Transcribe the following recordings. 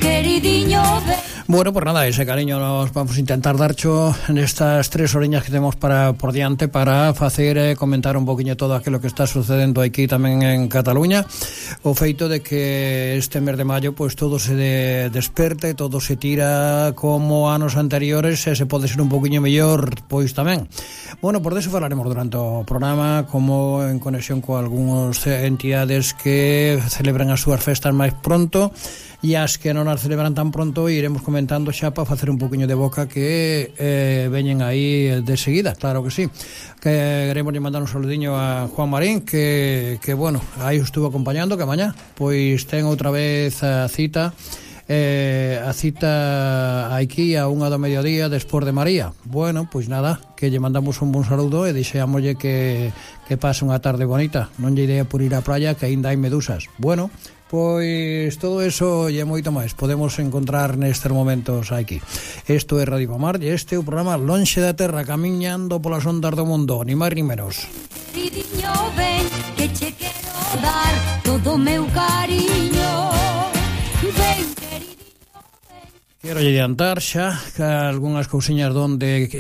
queridiño. Bueno, pues nada, ese cariño nos vamos a intentar darcho en estas 3 horiñas que temos por diante para facer comentar un poquinho todo aquilo que está sucedendo aquí tamén en Cataluña. O feito de que este mes de maio pues todo se desperte, todo se tira como anos anteriores e se pode ser un poquinho mellor pois tamén. Bueno, por eso falaremos durante o programa, como en conexión con algúns entidades que celebran as súas festas máis pronto e as que non as celebran tan pronto, iremos comentando xa para facer un poquinho de boca que veñen aí de seguida, claro que sí. Que queremos mandar un saludiño a Juan Marín que bueno, aí estuvo acompañando, que mañá pois ten outra vez a cita aquí a 1 do mediodía despois de María. Bueno, pois nada, que lle mandamos un bon saludo e deixeámoslle que pase unha tarde bonita. Non lle idea por ir á praia, que aínda hai medusas. Bueno, pois todo eso e moito máis podemos encontrar nestes momentos aquí. Isto é Radio Pomar e este é o programa Lonxe da Terra, camiñando polas ondas do mundo, ni máis ni menos. Queridiño, ven, que che quero dar todo o meu cariño. Ven, quero adiantar xa que algunhas cousiñas donde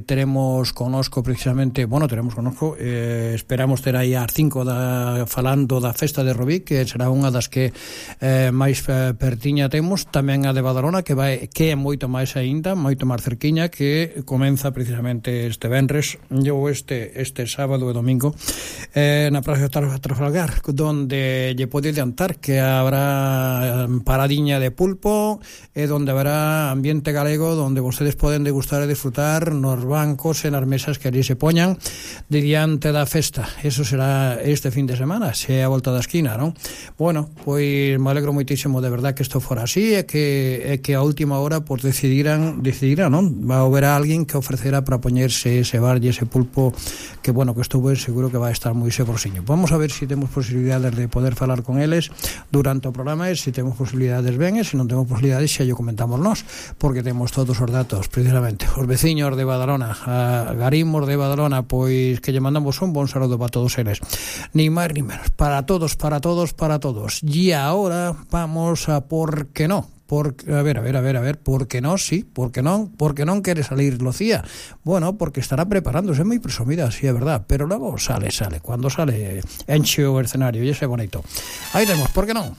teremos conosco precisamente, esperamos ter aí ás 5 falando da festa de Rubí, que será unha das que máis pertiña temos, tamén a de Badalona que é moito máis aínda, moito máis cerquiña, que comeza precisamente este venres ou este sábado e domingo na Praza de Trafalgar, donde lle pode adiantar que habrá paradiña de pulpo e donde habrá ambiente galego, donde vostedes poden degustar e disfrutar nos bancos e nas mesas que ali se poñan de diante da festa. Eso será este fin de semana, se é a volta da esquina, non? Bueno, pois me alegro moitísimo de verdad que isto fora así e que a última hora pues decidirán, non? Va a haber alguén que ofrecerá para poñerse ese bar e ese pulpo que, bueno, que estou ben seguro que vai estar moi saborosiño. Vamos a ver se temos posibilidades de poder falar con eles durante o programa e se temos posibilidades ben e se non temos posibilidades xa yo comentamos nós, porque temos todos os datos precisamente. Os veciños de Badalona, a Garimos de Badalona, pois que lle mandamos un bon saludo para todos eles, ni máis ni menos, para todos. E agora vamos a por que non. A ver, por que non, sí, por que non quere salir Lucía? Bueno, porque estará preparándose, moi presumida, sí, é verdad, pero logo sale, cando sale enche o escenario e ese bonito. Aí temos, por que non?